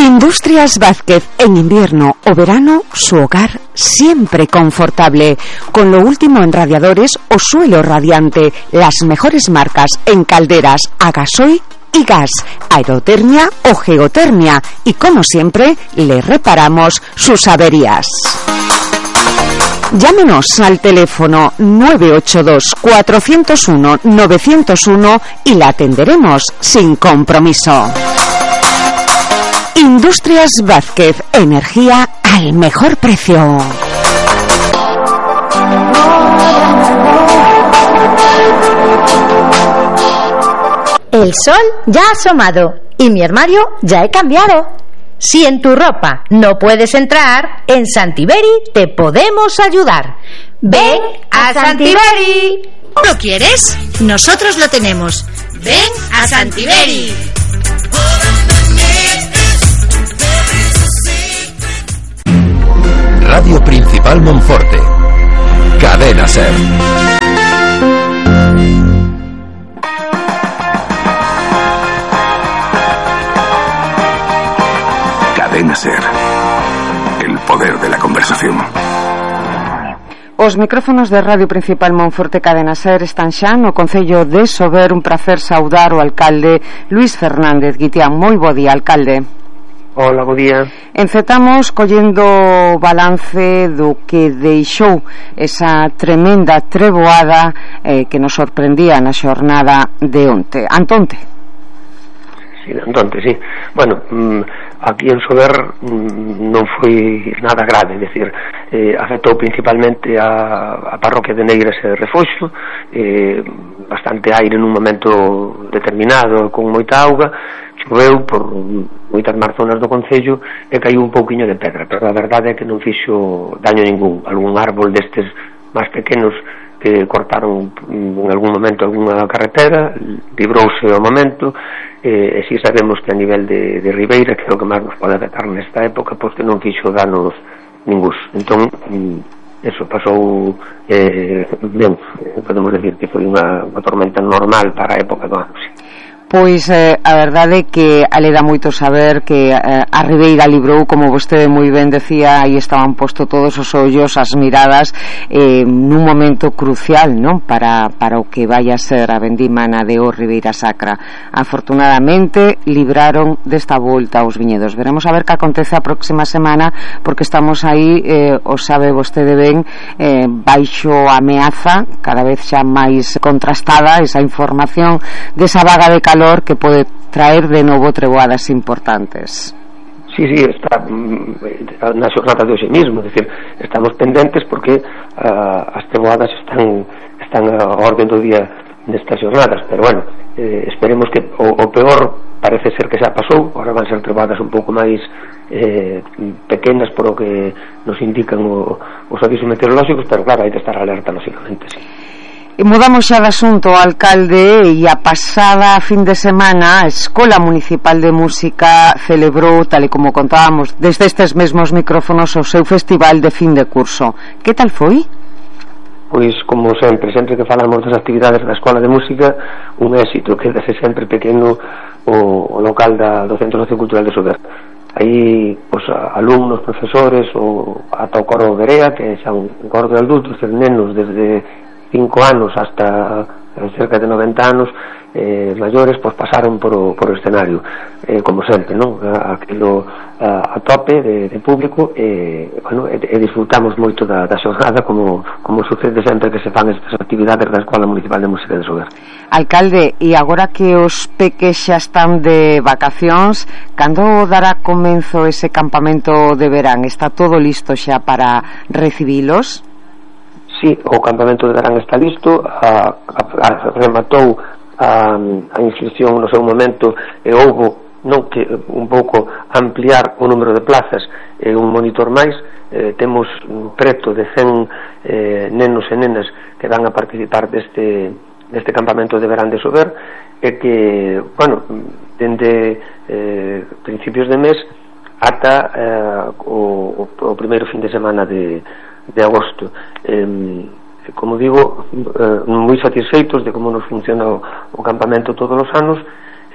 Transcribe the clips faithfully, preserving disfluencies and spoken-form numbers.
Industrias Vázquez, en invierno o verano, su hogar siempre confortable, con lo último en radiadores o suelo radiante, las mejores marcas en calderas a gasoil y gas, aerotermia o geotermia, y como siempre, le reparamos sus averías. Llámenos al teléfono nueve ocho dos, cuatro cero uno, nueve cero uno y la atenderemos sin compromiso. Industrias Vázquez, energía al mejor precio. El sol ya ha asomado y mi armario ya he cambiado. Si en tu ropa no puedes entrar, en Santiberi te podemos ayudar. ¡Ven a Santiberi! ¿Lo quieres? Nosotros lo tenemos. ¡Ven a Santiberi! Radio Principal Monforte. Cadena Ser. Cadena Ser. El poder de la conversación. Os micrófonos de Radio Principal Monforte Cadena Ser están xa no Concello de Sober. Un prazer saudar o alcalde Luís Fernández Guitián. Moi bo día, alcalde. Hola, bo día. Encetamos collendo balance do que deixou esa tremenda treboada eh, que nos sorprendía na xornada de onte. Antonte. Sí, Antonte, sí. Bueno, aquí en Sober non foi nada grave, é dicir, eh, afectou principalmente a, a parroquia de Negras e Refoxo, eh, bastante aire nun momento determinado, con moita auga, choveu por moitas máis zonas do concello e caiu un pouquiño de pedra, pero a verdade é que non fixo daño ningún. Algún árbol destes máis pequenos que cortaron en algún momento algunha carretera, librouse ao momento, e, e si sabemos que a nivel de, de Ribeira, que é o que máis nos pode afectar nesta época, pois que non fixo danos ningús. Entón, eso pasou eh, ben, podemos decir que foi unha, unha tormenta normal para a época do ano, sí. Pois eh, a verdade é que ale dá moito saber que eh, a Ribeira librou, como vostede moi ben decía, aí estaban posto todos os ollos, as miradas, eh, nun momento crucial, non? Para, para o que vai a ser a vendimana de o Ribeira Sacra. Afortunadamente libraron desta volta aos viñedos. Veremos a ver que acontece a próxima semana, porque estamos aí, eh, o sabe vostede ben, eh, baixo ameaza, cada vez xa máis contrastada esa información desa vaga de calor que pode traer de novo treboadas importantes. Sí, sí, está na xornada de hoxe mismo, é dicir, estamos pendentes porque uh, as treboadas están están a orden do día nestas xornadas, pero bueno, eh, esperemos que o, o peor parece ser que xa pasou. Agora van ser treboadas un pouco máis eh, pequenas por o que nos indican o, os avisos meteorolóxicos, pero claro, hai que estar alerta, lógicamente, sí. E mudamos xa de asunto, alcalde, e a pasada fin de semana a Escola Municipal de Música celebrou, tal e como contábamos desde estes mesmos micrófonos, o seu festival de fin de curso. Que tal foi? Pois, como sempre, sempre que falamos das actividades da Escola de Música, un éxito, quedase sempre pequeno o, o local da, do Centro Sociocultural de Sober. Aí, pois, alumnos, profesores, o, ata o coro Berea, que xa un coro de adultos, de nenos desde cinco anos hasta cerca de noventa anos, eh, maiores, pois pasaron por o, por o escenario, eh, como sempre, non? Aquilo a, a tope de, de público, e, bueno, e, e disfrutamos moito da, da xornada, como, como sucede sempre que se fan estas actividades da Escola Municipal de Música de Sober. Alcalde, e agora que os peques xa están de vacacións, cando dará comenzo ese campamento de verán? Está todo listo xa para recibilos? Sí, o campamento de verán está listo, a, a, a, rematou a, a inscripción no seu momento, e houbo non que un pouco ampliar o número de plazas e un monitor máis. Eh, temos preto de cen eh, nenos e nenas que van a participar deste, deste campamento de verán de Sober, e que, bueno, dende eh, principios de mes ata eh, o, o primeiro fin de semana de de agosto. Eh, como digo, eh, moi satisfeitos de como nos funciona o, o campamento todos os anos,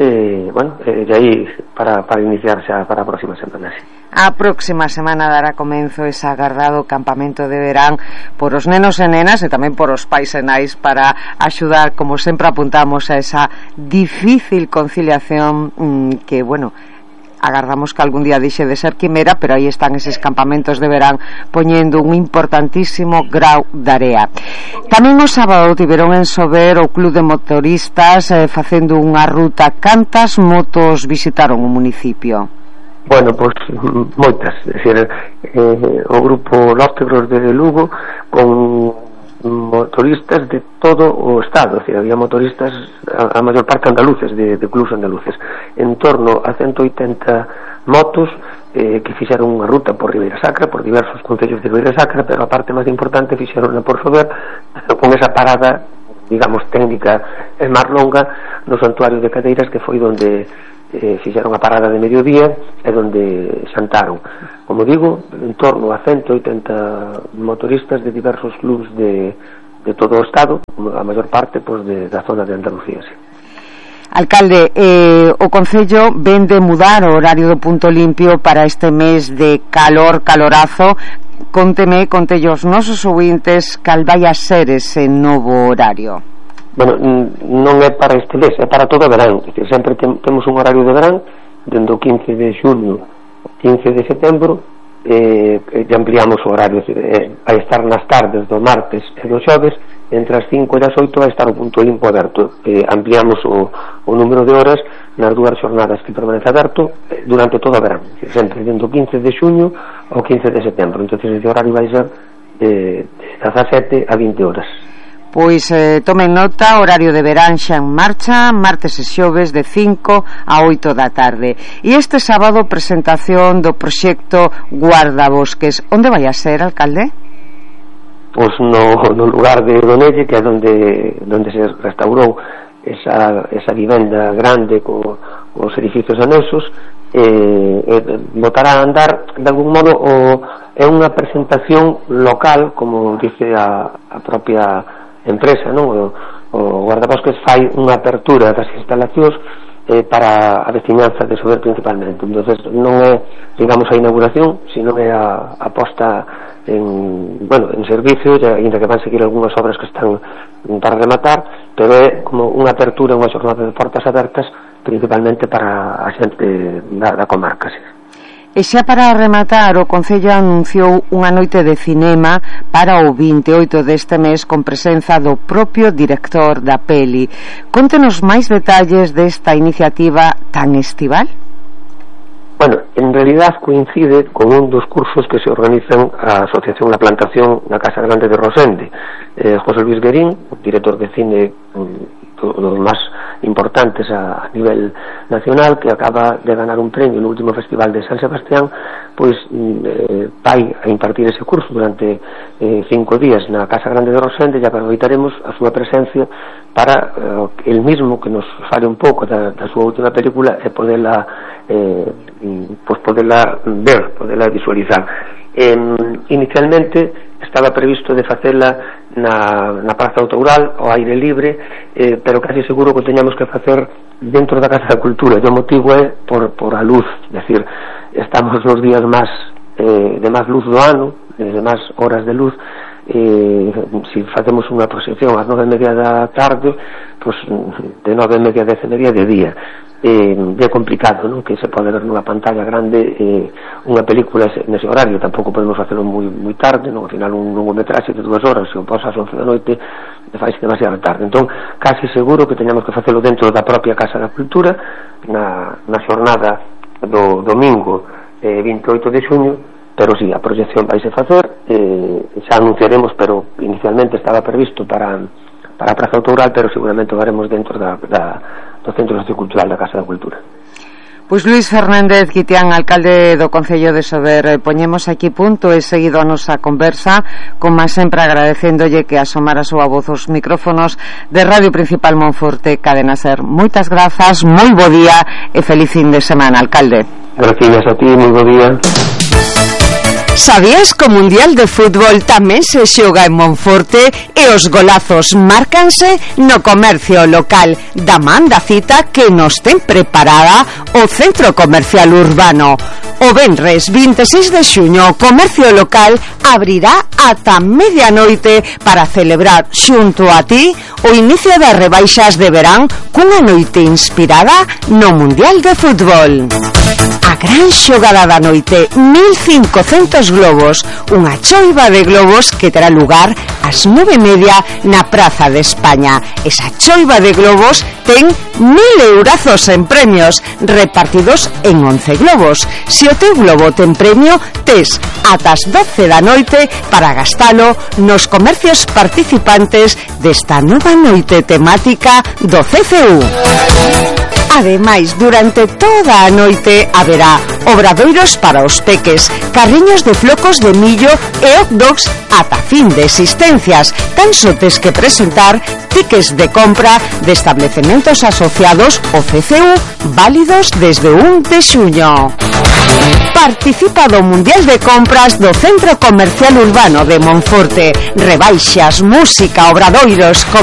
e, bueno, e de aí para, para iniciar xa para a próxima semana, sí. A próxima semana dará comenzo ese agardado campamento de verán por os nenos e nenas e tamén por os pais e nais para axudar, como sempre apuntamos, a esa difícil conciliación mmm, que, bueno, agardamos que algún día dixe de ser quimera, pero aí están eses campamentos de verán poñendo un importantísimo grau de area. Tamén o sábado tiveron en Sober o Club de Motoristas eh, facendo unha ruta. Cantas motos visitaron o municipio? Bueno, pois moitas, é dicir, eh, o grupo Lóstegros de Lugo con motoristas de todo o estado, é dicir, había motoristas a, a maior parte andaluces, de, de clubs andaluces, en torno a ciento oitenta motos eh, que fixeron unha ruta por Ribeira Sacra, por diversos concellos de Ribeira Sacra, pero a parte máis importante fixeron por Sober, con esa parada, digamos, técnica e máis longa no santuario de Cadeiras, que foi onde eh, fixeron a parada de mediodía e onde xantaron. Como digo, en torno a ciento oitenta motoristas de diversos clubs de, de todo o estado, a maior parte pois, de, da zona de Andalucía, sí. Alcalde, eh, o Concello ven de mudar o horario do punto limpio para este mes de calor, calorazo. Conteme, contelle aos nosos ouvintes cal vai a ser ese novo horario. Bueno, non é para este mes, é para todo o verán. É dicir, sempre tem, temos un horario de verán dende o quince de xulio ao quince de setembro, eh, e ampliamos o horario, é dicir, eh, vai estar nas tardes do martes e do xoves, entre as cinco e as oito vai estar o punto limpo aberto. Eh, ampliamos o, o número de horas nas dúas xornadas que permanece aberto eh, durante todo o verán, é dicir, sempre dende o quince de xuño ao quince de setembro. Entón, ese horario vai ser eh, de dezasete a vinte horas. Pois eh, tomen nota, horario de verán xa en marcha, martes e xoves de cinco a oito da tarde. E este sábado presentación do proxecto Guardabosques. Onde vai a ser, alcalde? Pois no, no lugar de Donelle, que é onde, onde se restaurou esa, esa vivenda grande co, os edificios anexos, e, e botará a andar de algún modo o, é unha presentación local, como dice a, a propia empresa, non? O, o Guardabosques fai unha apertura das instalacións eh, para a veciñanza de Sober principalmente. Entonces non é, digamos, a inauguración, sino é a, a posta en, bueno, en servicio, ainda que van seguir algunhas obras que están para rematar, pero é como unha apertura, unha xornada de portas abertas principalmente para a xente da, da comarca, sí. E xa para rematar, o Concello anunciou unha noite de cinema para o vinte e oito deste mes con presenza do propio director da peli. Contenos máis detalles desta iniciativa tan estival? Bueno, en realidad coincide con un dos cursos que se organizan a Asociación La Plantación na Casa Grande de Rosende. Eh, José Luis Guerín, director de cine dos máis importantes a, a nivel nacional, que acaba de ganar un premio no último festival de San Sebastián, pois eh, vai a impartir ese curso durante eh, cinco días na Casa Grande de Rosende, e aproveitaremos a súa presencia para eh, el mismo que nos fale un pouco da, da súa última película e poderla eh, pois poderla ver, poderla visualizar. Eh, inicialmente estaba previsto de facela na, na Praza Autoral ao aire libre, eh, pero casi seguro que teñamos que facer dentro da Casa da Cultura, e o motivo é por, por a luz, é dicir, estamos nos días máis eh, de máis luz do ano, de máis horas de luz, eh, se facemos unha proxección ás nove e media da tarde, pues, de nove e media a dez e media de día, eh, é complicado, non? Que se pode ver nunha pantalla grande eh, unha película nese horario. Tampouco podemos facelo moi, moi tarde, non? Ao final un longometraxe de dúas horas, se o pasa ás once da noite faise demasiado tarde. Entón, casi seguro que teñamos que facelo dentro da propia Casa da Cultura na, na xornada do domingo eh, vinte e oito de xuño, pero si, sí, a proxección vaise facer, eh, xa anunciaremos, pero inicialmente estaba previsto para para a Praza Autoral, pero seguramente o haremos dentro da, da, do Centro Sociocultural da Casa da Cultura. Pois Luís Fernández Guitián, alcalde do Concello de Sober, poñemos aquí punto e seguido a nosa conversa, como sempre agradecéndolle que asomara a súa voz aos micrófonos de Radio Principal Monforte, Cadena Ser. Moitas grazas, moi bo día e feliz fin de semana, alcalde. Gracias a ti, moi bo día. Sabías que o Mundial de Fútbol tamén se xoga en Monforte e os golazos márcanse no comercio local da man da cita que nos ten preparada o Centro Comercial Urbano. O venres vinte e seis de xuño o comercio local abrirá ata medianoite para celebrar xunto a ti o inicio das rebaixas de verán cunha noite inspirada no Mundial de Fútbol. A gran xogada da noite, mil cincocentos globos, unha choiva de globos que terá lugar ás nove e media na Praza de España. Esa choiva de globos ten mil eurazos en premios repartidos en once globos. Se o teu globo ten premio, tes ata as doce da noite para gastalo nos comercios participantes desta nova noite temática do C C U. Ademais, durante toda a noite haberá obradoiros para os peques, carriños de flocos de millo e hot dogs ata fin de existencias. Tan só tes que presentar tickets de compra de establecementos asociados ao C C U válidos desde o un de xuño. Participa do Mundial de Compras do Centro Comercial Urbano de Monforte. Rebaixas, música, obradoiros,